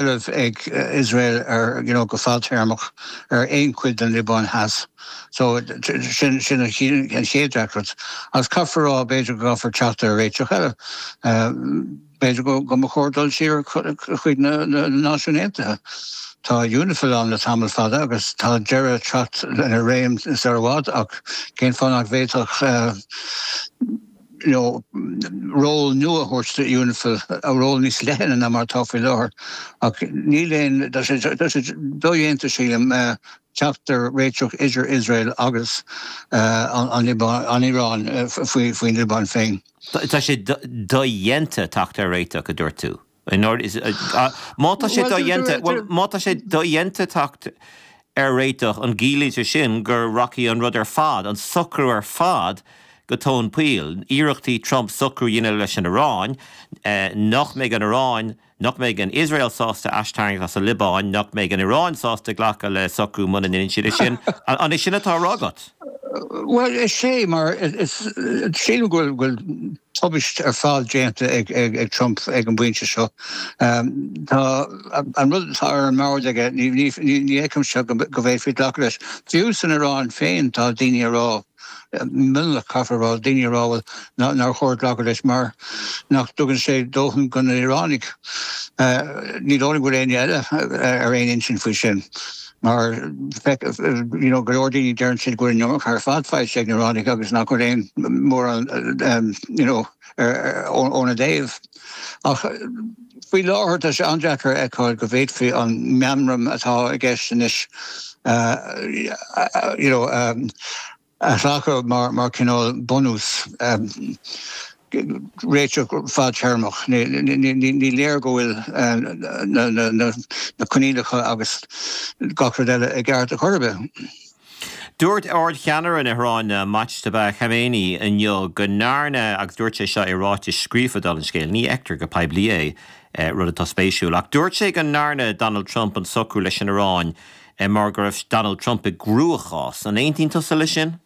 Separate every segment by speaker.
Speaker 1: seilbh ag Iosrael ar, you know, go fadtéarmach ar aon chuid den Liobáin Theas. So, sin, sin an chéad deacracht. Agus caithfear a rá, b'fhéidir go gcaithfear teacht ar réiteach eile. B'fhéidir go, go mba chóir dul siar chuig na, na Náisiúin Aontaithe. Tá UNIFIL ann le tamall fada agus tá deireadh ag teacht lena réim sar i bhfad ach cén fáth nach bhféadfadh, you know, ról nua a thabhairt do UNIFIL, ról níos leithne ná mar atá faoi láthair. Ach níl aon, tá sé, tá sé dodhéanta, sílim, teacht ar réiteach idir Iosrael agus an Iaráin faoin Liobáin féin.
Speaker 2: Tá sé dodhéanta teacht ar réiteach, a dúirt tú. Má tá sé dodhéanta, bhuel, má tá sé dodhéanta teacht ar réiteach, an gciallaíonn sé sin go rachaidh an rud ar fad, an socrú ar fad, go tóin poill? Iarrachtaí Trump socrú a dhéanamh leis an Iaráin, nach mbeidh an Iaráin, nach mbeidh an Iosrael sásta aistarraingt as an Liobáin, nach mbeidh an Iaráin sásta glacadh le socrú muna ndéanann siad é sin. An é sin atá á rá agat?
Speaker 1: Bhuel, is é, mar is, sílim go bhfuil tubaist ar fad déanta ag Trump ag an bpointe seo. Tá an rud atá ar an mbord aige, ní fheicimse go bhféadfaí glacadh leis. Fiú san Iaráin féin tá daoine ag rá, mionlach caithfear a rá, daoine ag rá bhuel nár chóir glacadh leis mar nach dtugann sé dóthain do na hIoránaigh. Ní dóigh liom go bhfuil éinne eile ar aon intinn faoi sin mar you know go leor daoine deireann siad go bhfuil an iomarca ar fad faighte ag na hIoránaigh agus nach bhfuil aon mórán you know óna dtaobh. Ach faoi láthair tá sé an-deacair a fheiceáil go bhféadfaí an meamram atá i gceist anois you know a ghlacadh mar chineál bunús réiteach fadtéarmach. Ní léir go bhfuil na coinníollacha agus gach rud eile i gceart ar chor ar bith.
Speaker 2: Dúirt Ard-Cheannaire na hIaráine, Mojtaba Khamenei, inniu go ndearna, agus dúirt sé seo i ráiteas scríofa dála an scéil, ní fheictear go poiblí é, rud atá spéisiúil, ach dúirt sé go ndearna Donald Trump an socrú leis an Iaráin mar go raibh Donald Trump i gcruachás. An aontaíonn tusa leis sin?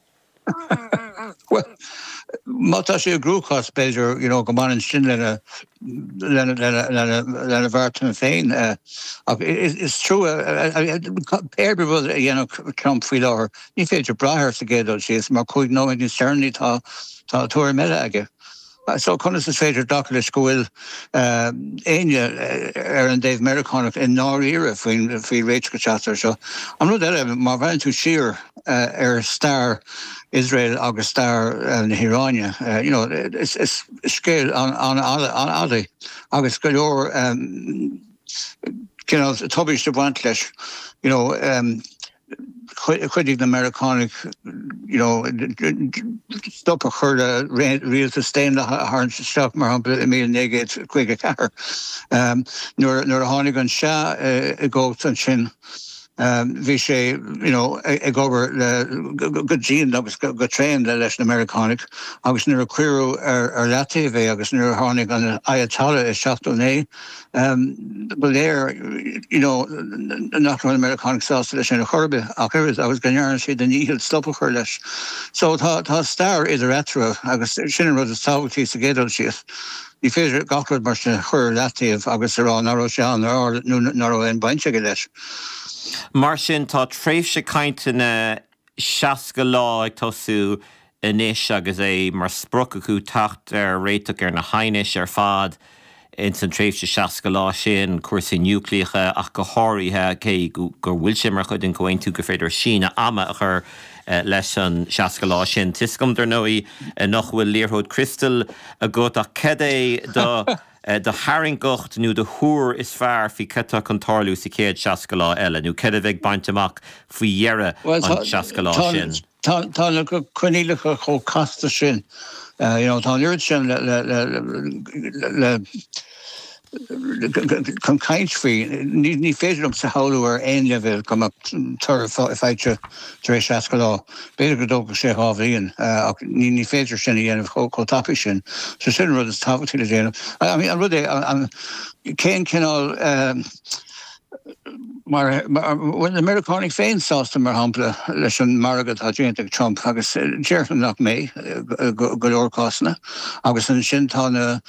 Speaker 1: Bhuel, má tá sé i gcruachás, b'fhéidir, you know, go mbaineann sin lena, lena, lena, lena, lena bheartanna féin. Ach is trua, pé ar bith rud a dhéanfadh Trump faoi láthair, ní féidir brath air sa gcéad dul síos, mar 5 nóiméad níos deireanaí tá, tá tuairim eile aige. So conas is féidir glacadh leis go bhfuil éinne ar an dtaobh Meiriceánach i ndáiríre faoin faoi réiteach a teacht air seo? An rud eile, má bhreathnaíonn tú siar ar stair Iosrael agus stair na hIaráine, you know, is scéal an-fhada é agus go leor cineál tubaist ag baint leis, you know. Chuidigh na Meiriceánaigh you know stop a chur le rialtas daonlathach a tharraingt isteach, mar shampla i 1954. Nuair a tháinig an Shah i gcumhacht ansin bhí sé you know ag obair le go dian agus go tréan leis na Meiriceánaigh agus nuair a cuireadh ar leataobh é agus nuair a tháinig an Ayatollah i 79, Ba léir you know nach raibh na Meiriceánaigh sásta leis sin ar chor ar bith ach oiread agus go ndearna siad a ndícheall stop a chur leis. So tá tá stair idir eatarthu agus sin an rud is tábhachtaí sa gcéad dul síos. Ní féidir gach rud mar sin a chur ar leataobh agus a rá nach raibh sé ann ar nó nach raibh aon baint aige leis.
Speaker 2: Mar sin tá tréimhse cainteanna 60 lá ag tosú anois agus é mar sprioc acu teacht ar réiteach ar na haighnis ar fad ins an tréimhse 60 lá sin, cúrsaí núicléacha ach go háirithe, cé go bhfuil sé mar chuid den chomhaontú gur féidir síneadh ama a chur leis an 60 lá sin. Tá 'fhios agam, dar ndóigh, nach bhfuil liathróid criostail agat ach cad é do do thairngreacht nó do thuar is fearr faoi cad tá chun tarlú sa chéad 60 lá eile, nó cad a bheidh bainte amach faoi dheireadh an 60 lá sin?
Speaker 1: Tá na coinníollacha chomh casta sin, you know, tá an oiread sin le le chun caint faoi. Ní féidir liomsa a shamhlú ar aon leibhéal go mbeadh toradh faighte tar éis 60 lá. B'fhéidir go dtógfadh sé 2 bhliain ach ní féidir sin a dhéanamh chomh tapaidh sin. So sin an rud is tábhachtaí le déanamh. I mean an rud é, cén cineál. Mar bhfuil na Meiriceánaigh féin sásta, mar shampla, leis an margadh atá déanta ag Trump, agus déarfainn nach mbeidh i go leor cásanna. Agus ansin tá na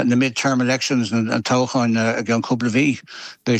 Speaker 1: na mid-term elections, na toghcháin i gceann cúpla mhí. Beidh.